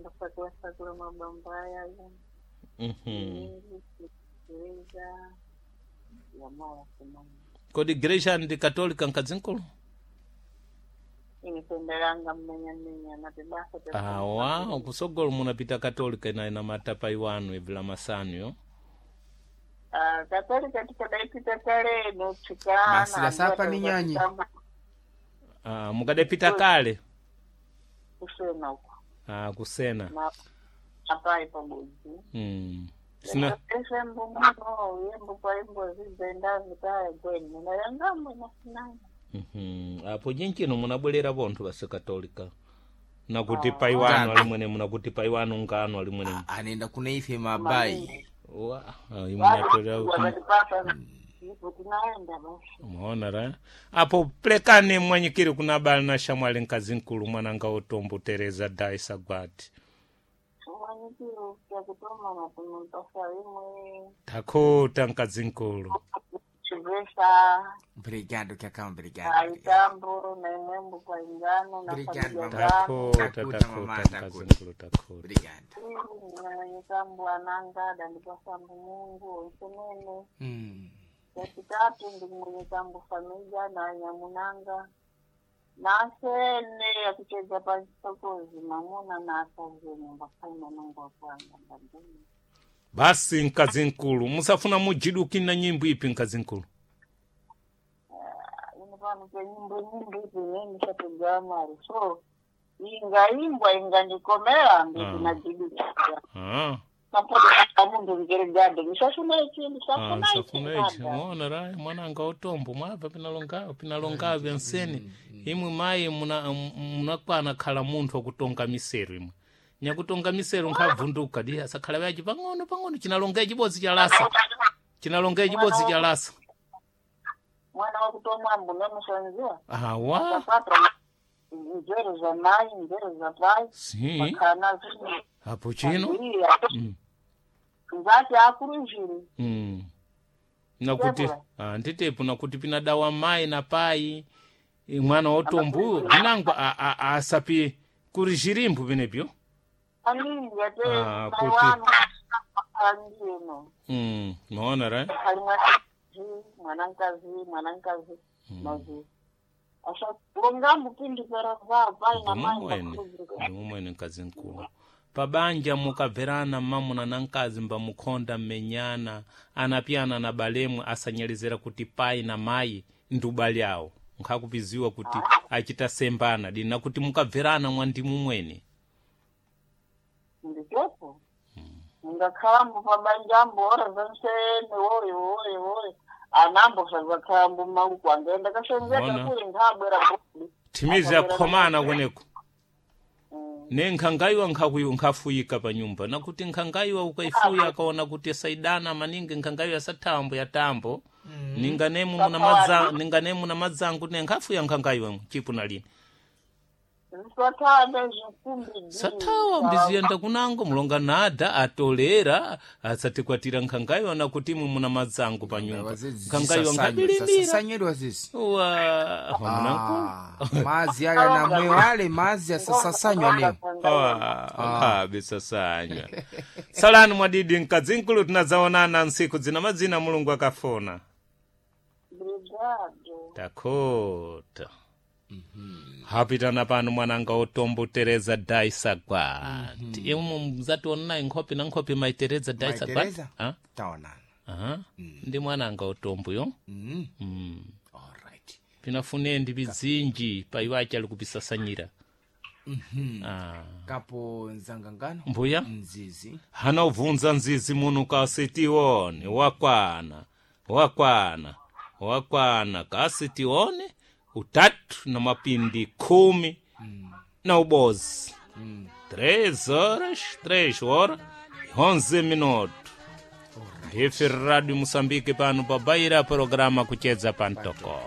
Mbasakula sakula mabamba yayo. Tereza yamala kumama. Kodi igreja ndi katolika mkazinkulu? Inipendelanga mmenya mmenya natibasa Awa, kusogolo munapita katolika ina ina matapa iwanu ibvila masanu yo. Ah, katolika tikadaipita kale nochikana. Basi la sapa ni nyanyi. Ah, mukadapita kale. Kusena uko. Ah, kusena. Na apai pabodzi. Sina Esembo muno yembo kwa imbo zibenda zikaya gweni. Nayangamwe nasinanga. Apo jinchino munabwerera vonthu vase katolika. Nakuti paiwanu Ngapi? alimwene munakuti paiwanu ngano alimwene. Anenda kuna ife mabai. Wa, ah, imwe natolera Wakatipata ipo tunaenda basi. Muona ra apo plekani mwanyikiri kuna bali na shamwali nkazinkulu mwananga utombo Tereza Daisa Gwati. Mwanyikiro kyakutoma na tumupasa imwe Takota nkazinkulu. chivesa Obrigado kyakama obrigado. aitambo na imwembo kwa ingano na Obrigado, familia mama. zangu. Takota Takuta, takota mama, takuta. nkazinkulu takota. Obrigado. Mwenyekambu ananga dandipasambu Mungu oisenene yachitatu ndi mwenyekambu familia na nyamunanga nasene yakucheza pachisokozi mamuna na akazeni mbakaina nungu wakwanga ndandini. Basi nkazinkulu musafuna mujiduki na nyimbo ipi nkazinkulu? Ino pano penyimbo nyimbo ipi neni shatogama so ingaimbwa ingandikomera Ah. ndinajidukira Ah. kapoda mundu ngeregado ndisafuna ichi Ah, ndisafuna ichi nsafuna ichi nada. muona ra mwananga utombo mwabva pinalonga pinalonga vyanseni imwe mayi munakwana khala munthu akutonga miseru imwe nyakutonga miseru nkhavunduka di asakhala vyaci pang'ono pang'ono chinalonga chibodzi chalasa chinalonga chibodzi chalasa Mwana wakutomwambo nomusanziwa awa akapata nzero za mai nzero za pai si makana apo chino zino nzati akuruzhiri Nakuti Débora. ah, nditepo nakuti pinadawa mai na pai mwana wotombo vinangwa asapi kuri zhirimbu vinepyo aningi ate Ah, mai kuti- wanu andiyeno maona ra ali mwanakazi mwanakazi mwanakazi mazi asakonga mupindikera vao pai na mai ndimumwene ndakuruzhiri ndimumwene mkazi mkulu pabanja mukabverana mmamuna na mkazi mbamukhonda mmenyana anapyana na balemwe asanyelezera kuti pai na mayi ndi ubale awo nkhakupiziwa kuti achita sembana dina kuti mukabverana mwandimumwene nditepo ngakhalambo pabanjambo ora zansene woyo woyo woyo anambo sazakhalambo mauku angaenda kasenzeka Ona. kuli nkhabwera bodi thimizi yakhomana kweneko ne nkhangayiwa nkhafuyika pa nyumba nakuti nkhangayiwa ukaifuya akaona kuti saidana maningi nkhangayiwa sathambo ya tambo ninganemu muna madza ninganemu na madzangu ne nkhafuya nkhangayiwa chipu na lini zisathabe zvikumbi sathawa mbiziyenda kunango mulonga nada atolera asatikwatira nkhangayiwa nakuti imwe muna madzangu pa nyumba nkhangayiwa nkhabilimira Zasasanyedwa zizi. wa mwanangu Ah, mazi ale namweyo ale mazi asasasanywa newo. nkhabe sasanywa salani mwadidi mkadzinkulu tinadzaonana ntsiku dzina madzina Mulungu akafuna. Obrigado. Takota hapitana pano mwananga utombo Tereza Daisa Gwati imwe mzationayi nkhope na nkhope mai Tereza Daisa Mai Gwati Tereza? Ah? Taonana. Aha. Ndi mwananga utomboyo Alright. pinafune ndi bidzinji paiwachi ali kupisasanyira Ah. Kapo nzangangano. Mbuya Mzizi. hana ubvunza nzizi muno kasitione wakwana wakwana wakwana kasitione utatu na mapindi 10 na ubozi 3 horas 3 horas 11 minutos. Ndife Radio Moçambique pano pabaira programa kucheza pantoko.